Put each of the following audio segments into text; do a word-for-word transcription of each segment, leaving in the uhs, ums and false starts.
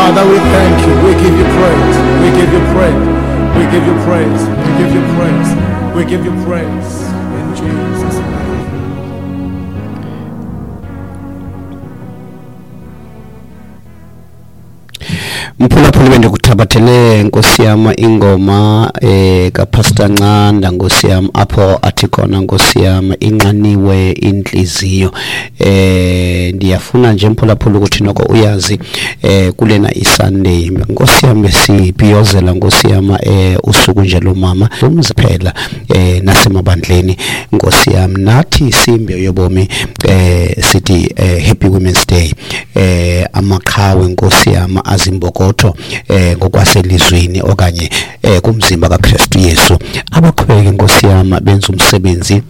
Father, we thank you. We give you praise. We give you praise. We give you praise. We give you praise. We give you praise in Jesus' name. Mphulaphuli, bendikuthabathele, nkosi yam, ingoma eh kaPastor Ncanda, nkosi yam, apho athi khona, nkosi yam, inxaniwe intliziyo. eh ndiyafuna nje, mphulaphuli, ukuthi noko uyazi eh kulena iSunday, nkosi yam, besibhiyozela, nkosi yam, eh usuku nje lomama umzi phela eh nasemabandleni, nkosi yam. Nathi simbe yobomi eh sithi eh, Happy Women's Day. eh amaqhawe nkosi yam, azimbokotho eh ngokwaselizweni okanye eh kumzimba kaKristu Yesu, abaqhubeke, nkosi yam, benza umsebenzi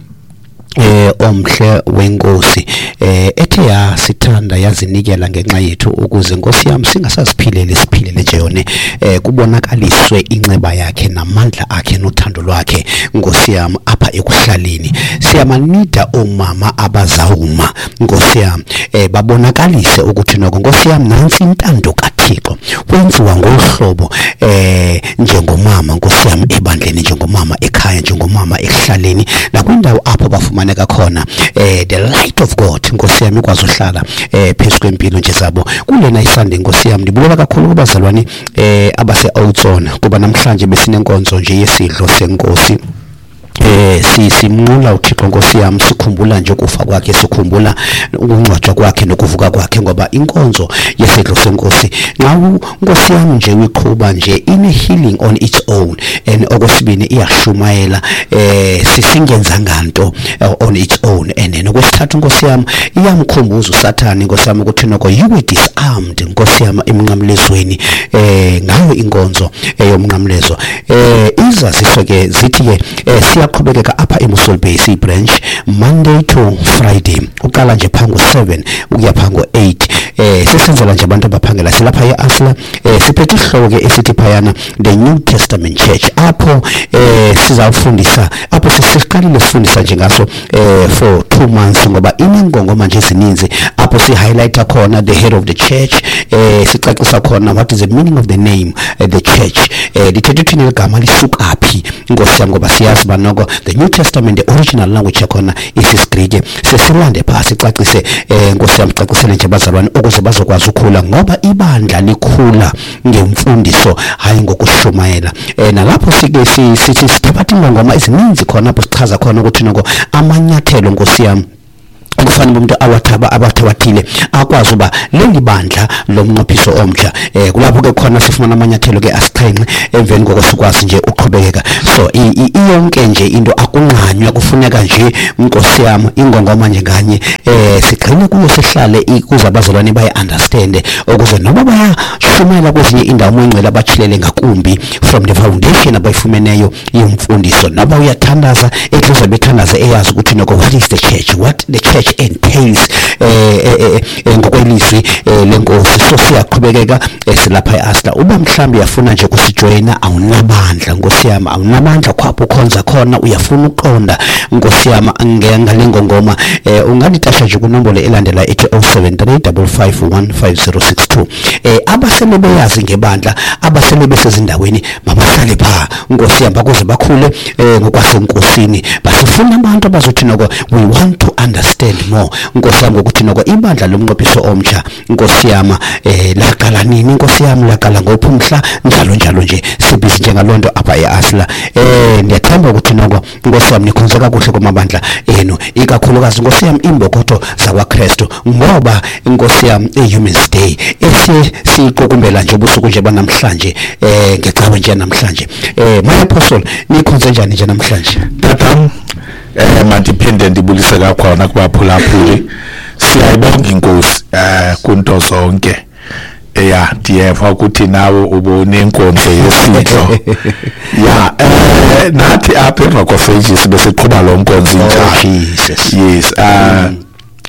eh omhle wenkosi eh ethe yasithanda, yazinikela ngenxa yethu, ukuze, nkosi yam, singasaziphileli, siphilele nje yona, eh kubonakaliswe inceba yakhe namandla akhe nothando lwakhe, nkosi yam, apha ekuhlaleni. Siyamanida omama abazawuma, nkosi yam, eh babonakalise ukuthi noko, nkosi yam, nantsi intando kaThixo, kwenziwa ngohlobo eh njengomama, nkosi yam, ebandleni, njengomama ekhaya, njengomama ekuhlaleni, nakwindawo apho bafumaneka khona. eh the light of God, nkosi yami, ikwazi uhlala eh phezu kwempilo nje zabo. Kulena iSunday, nkosi yami, ndibulela kakhulu kubazalwane eh abase Outzon, kuba namhlanje besinenkonzo nje yesidlo senkosi. eh si simnqula uThixo, nkosi yami, sikhumbula nje ukufa kwakhe, sikhumbula ukungcwatshwa kwakhe nokuvuka kwakhe, ngoba inkonzo yesidlo senkosi, nxa nkosi yami nje uyiqhuba nje, ine healing on its own. And okwesibini, iyashumayela eh sisingenzanga nto on its own. And nokwesithathu, nkosi yami, iyamkhumbuza uSathane, nkosi yami, ukuthi noko you were disarmed, nkosi yami, emnqamlezweni eh ngayo inkonzo eyomnqamlezo. eh izaziso ke zithi ke eh, siyaqhubekeka apha eMossel Bay branch Monday to Friday, uqala nje pha ngo-seven ukuya pha ngo-eight. eh sesenzela nje abantu abaphangela. Silapha e-Asla. eh siphethe isihloko ke esithi phayana The New Testament Church, apho eh sizawufundisa, apho sesiqalile sifundisa nje ngaso eh for two months, ngoba inengongoma nje ezininzi, apho si highlighta khona the head of the church, eh sicacisa khona what is the meaning of the name uh, the church, eh lithethe uthini ligama, lisuka phi, nkosi yami, ngoba siyazi banoko the New Testament, the original language yakhona isisiGrike. Sesilande pha sicacise, eh nkosi yami, cacisele nje bazalwane ukuze bazokwazi ukukhula, ngoba ibandla likhula ngemfundiso, hayi ngokushumayela. eh nalapho sike sithi sithabatha ingongoma ezininzi khona, apho sichaza khona ukuthi noko amanyathelo, nkosi yami, kufanele umuntu awathaba abathabathile akwazi uba leli bandla lomnqophiso omtsha. eh kulapho ke khona sifumana amanyathelo ke asixhenxe, emveni koko sikwazi nje uqhubekeka. So iyonke nje into akunqanywa, kufuneka nje, nkosi yami, ingongoma nje nganye eh sigxile kuyo, sihlale ukuze abazalwane baye understand, ukuze noma bayashumayela kwezinye indawo, moyingcwele abachilele ngakumbi from the foundation abayifumeneyo yemfundiso. Noba uyathandaza, ethuze bethandaza eyazi ukuthi noko what is the church, what the church entails eh ngokwelizwi lenkosi. So siyaqhubekeka silapha eAsla. Uba mhlawumbe uyafuna nje ukusijoyina, awunabandla, nkosi yami, awunabandla khwapho ukhonza khona, uyafuna uqonda, nkosi yami, ngale ngongoma, unganditasha nje kunombolo elandela ethi zero seven three five five one five zero six two. eh abasele beyazi ngebandla, abasele besezindaweni, mabahlale pha, nkosi yami, bakuze bakhule ngokwasenkosini. Basifuna abantu abazothi noko we want to understand more, nkosi yami, ngokuthi noko ibandla lomnqophiso omtsha, nkosi yami, eh laqala nini, nkosi yami, laqala ngophi umhla, njalo njalo nje. Sibhizi njengalonto apha eAsla. eh ndiyathemba ukuthi noko, nkosi yami, nikhonze kakuhle kumabandla enu, ikakhulukazi, nkosi yami, imbokotho zakwaKristu, ngoba, nkosi yami, iHuman's Day esi siqukumbela nje ubusuku nje banamhlanje, eh ngecawe nje namhlanje. eh my apostle, nikhonze njani nje namhlanje? Tatam, eh mandiphinde ndibulise kakhona kubaphulaphuli. Siyayibonga inkosi eh kunto zonke. Eya, ndiyeva ukuthi nawe ubunenkonzo yesidlo. Ya, eh nathi apha eRock of Ages besiqhuba lo nkonzo injalo. Jesus. Yes, eh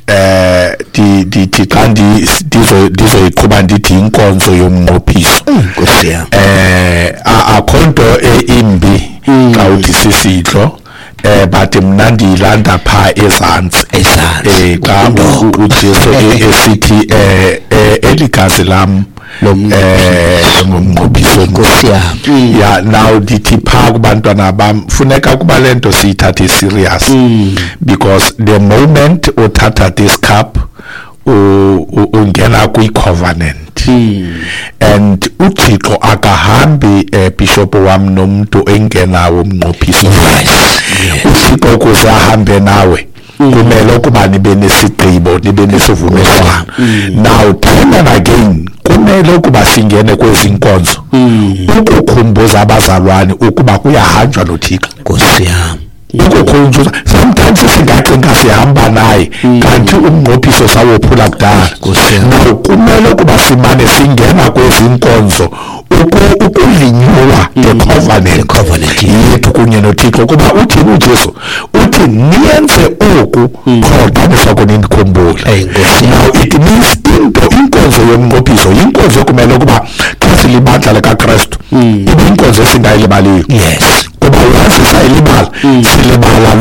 eh di dithi xa ndizo ndizoyiqhuba ndithi inkonzo yomnqophiso. Nkosi yami. Eh akho nto imbi xa uthi sisidlo, eh but mna ndiyilanda pha ezantsi. Ezantsi. eh xa uJesu esithi eh eligazi lam Eh ngomnqophiso, Nkosi yami. Ya, now ndithi phaa kubantwana bam, funeka ukuba le nto siyithathe serious, because the moment uthatha this cup, u- u- ungena kwi-covenant, and uThixo akahambi, eh, bishop wam, nomuntu engenawo umnqophiso. UThixo ukuze ahambe nawe kumele ukuba nibe nesigqibo, nibe nesivumelwano. Now time and again kumele ukuba singene kwezi nkonzo ukukhumbuza abazalwane ukuba kuyahanjwa noThixo. Nkosi yami. Ukukhunjuza, sometimes singacinga sihamba naye, kanti umnqophiso sawophula kudala. Nkosi yami. Now kumele ukuba simane singena kwezi nkonzo uku- ukulinyuwa the covenant, The covenant, yeah. yethu kunye noThixo, kuba uthini uJesu? Uthi niyenze oku qho nisoko nindikhumbule. Ey, Nkosi. Now it means into inkonzo yomnqophiso yinkonzo ekumele ukuba xa silibandla likaKrestu ibe inkonzo esingayilibaliyo, yes kuba once sayilibala, silibala.